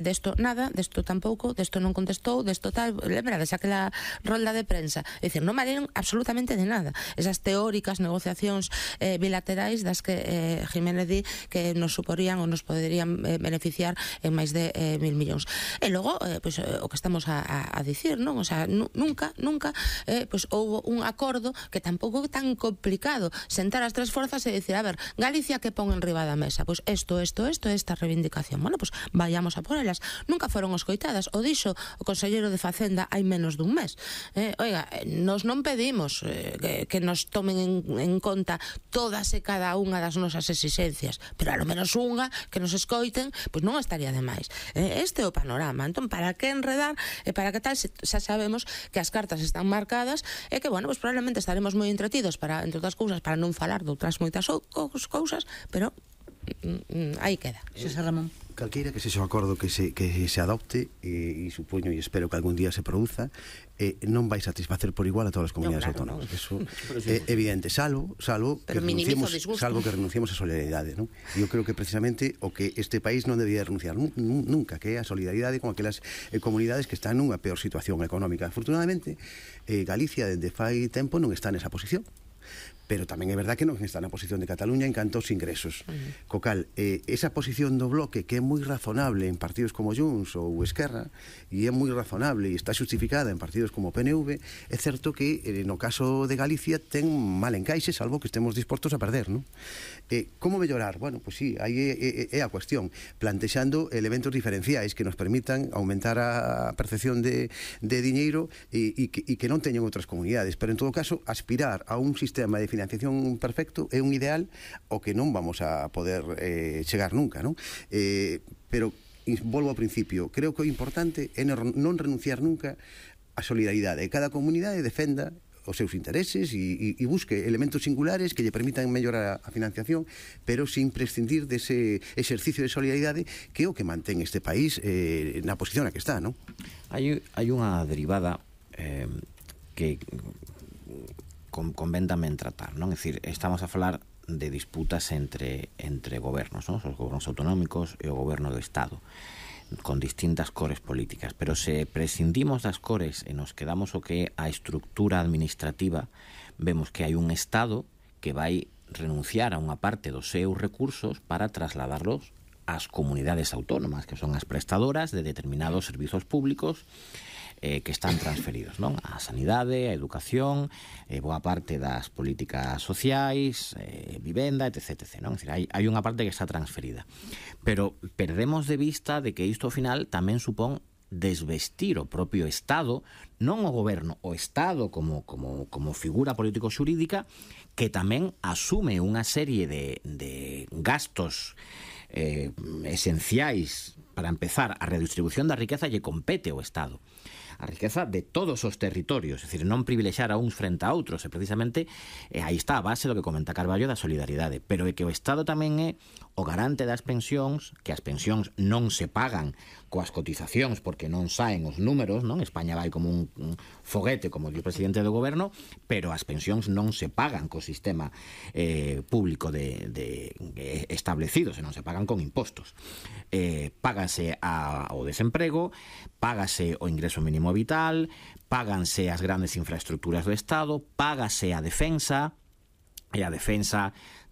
Desto nada, desto tampouco, desto non contestou, desto tal, lembrades aquela rolda de prensa, é dicir, non valieron absolutamente de nada esas teóricas negociacións bilaterais das que Jiménez di que nos suporían ou nos poderían beneficiar en máis de 1.000 millóns. E logo, pues, o que estamos a dicir, non? O sea, nunca pues, houve un acordo que tampouco é tan complicado sentar as tres forzas e dicir, a ver, Galicia que pon en riba da mesa, pues esta reivindicación, bueno, pues vayamos a por ela. Nunca foron escoitadas. O dixo o conselleiro de Facenda hai menos dun mes. Oiga, nos non pedimos que nos tomen en conta todas e cada unha das nosas exigencias, pero alo menos unha que nos escoiten, pois non estaría de máis. Este é o panorama. Entón, para que enredar e para que tal, xa sabemos que as cartas están marcadas e que, bueno, pues probablemente estaremos moi entretidos para, entre outras cousas, para non falar de outras moitas cousas, pero aí queda. Xosé Ramón. Calqueira que sexa o acordo que se adopte, e supoño e espero que algún día se produza, non vai satisfacer por igual a todas as comunidades autónomas. Eso é evidente, salvo que renunciemos a solidaridade, non? Eu creo que precisamente o que este país non debía renunciar nunca, que é a solidaridade con aquelas comunidades que están nunha peor situación económica. Afortunadamente, Galicia desde fai tempo non está nesa posición, pero tamén é verdad que non está na posición de Cataluña en canto aos ingresos. Co cal, esa posición do bloque que é moi razonable en partidos como Junts ou Esquerra, e é moi razonable e está justificada en partidos como PNV, é certo que no caso de Galicia ten mal encaixe, salvo que estemos dispostos a perder, non? Como mellorar? Bueno, pois sí, aí é a cuestión, plantexando elementos diferenciais que nos permitan aumentar a percepción de diñeiro e que non teñen outras comunidades, pero en todo caso, aspirar a un sistema de financiación perfecto é un ideal ao que non vamos a poder chegar nunca, non? Pero volvo ao principio, creo que o importante é non renunciar nunca á solidaridade. Cada comunidade defenda os seus intereses e busque elementos singulares que lle permitan mellorar a financiación, pero sin prescindir dese exercicio de solidaridade que é o que mantén este país na posición na que está, non? Hai unha derivada que convén tamén tratar, non? É dicir, estamos a falar de disputas entre gobernos, non? Os gobernos autonómicos e o goberno do Estado, con distintas cores políticas, pero se prescindimos das cores e nos quedamos o que é a estructura administrativa, vemos que hai un Estado que vai renunciar a unha parte dos seus recursos para trasladarlos ás comunidades autónomas, que son as prestadoras de determinados servizos públicos que están transferidos, non? A sanidade, a educación, boa parte das políticas sociais, vivenda, etc. Non? É dicir, hai unha parte que está transferida. Pero perdemos de vista de que isto ao final tamén supón desvestir o propio Estado, non o goberno, o Estado como figura político-xurídica que tamén asume unha serie de gastos esenciais. Para empezar, a redistribución da riqueza lle compete ao Estado, a riqueza de todos os territorios, é dicir, non privilexiar a uns frente a outros, e precisamente aí está a base do que comenta Carballo da solidaridade, pero é que o Estado tamén é o garante das pensións, que as pensións non se pagan coas cotizacións porque non saen os números, non? España vai como un foguete, como di o presidente do goberno, pero as pensións non se pagan co sistema público establecido, senón se pagan con impostos. Págase ao desemprego, págase o ingreso mínimo vital, páganse as grandes infraestructuras do Estado, págase a defensa, e a defensa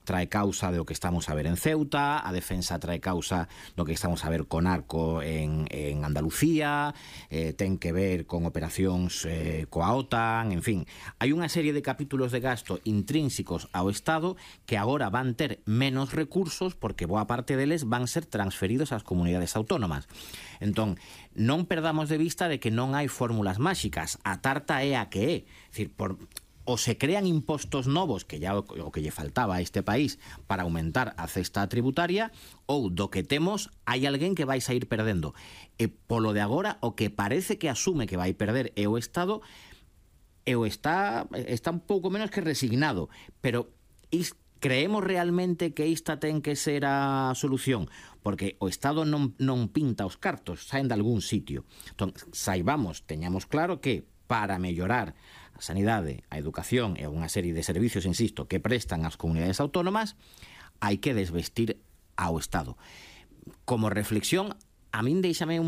trae causa do que estamos a ver en Ceuta, a defensa trae causa do que estamos a ver con Arco en Andalucía, ten que ver con operacións coa OTAN, en fin. Hai unha serie de capítulos de gasto intrínsecos ao Estado que agora van ter menos recursos porque boa parte deles van ser transferidos ás comunidades autónomas. Entón, non perdamos de vista de que non hai fórmulas máxicas. A tarta é a que é. É dicir, ou se crean impostos novos, que ya o que lle faltaba a este país para aumentar a cesta tributaria, ou do que temos hai alguén que vai sair perdendo. E polo de agora, o que parece que asume que vai perder é o Estado, está un pouco menos que resignado, pero creemos realmente que esta ten que ser a solución, porque o Estado non pinta os cartos, saen de algún sitio. Entón, teñamos claro que para mellorar a sanidade, a educación e unha serie de servicios, insisto, que prestan as comunidades autónomas, hai que desvestir ao Estado. Como reflexión, a min deixame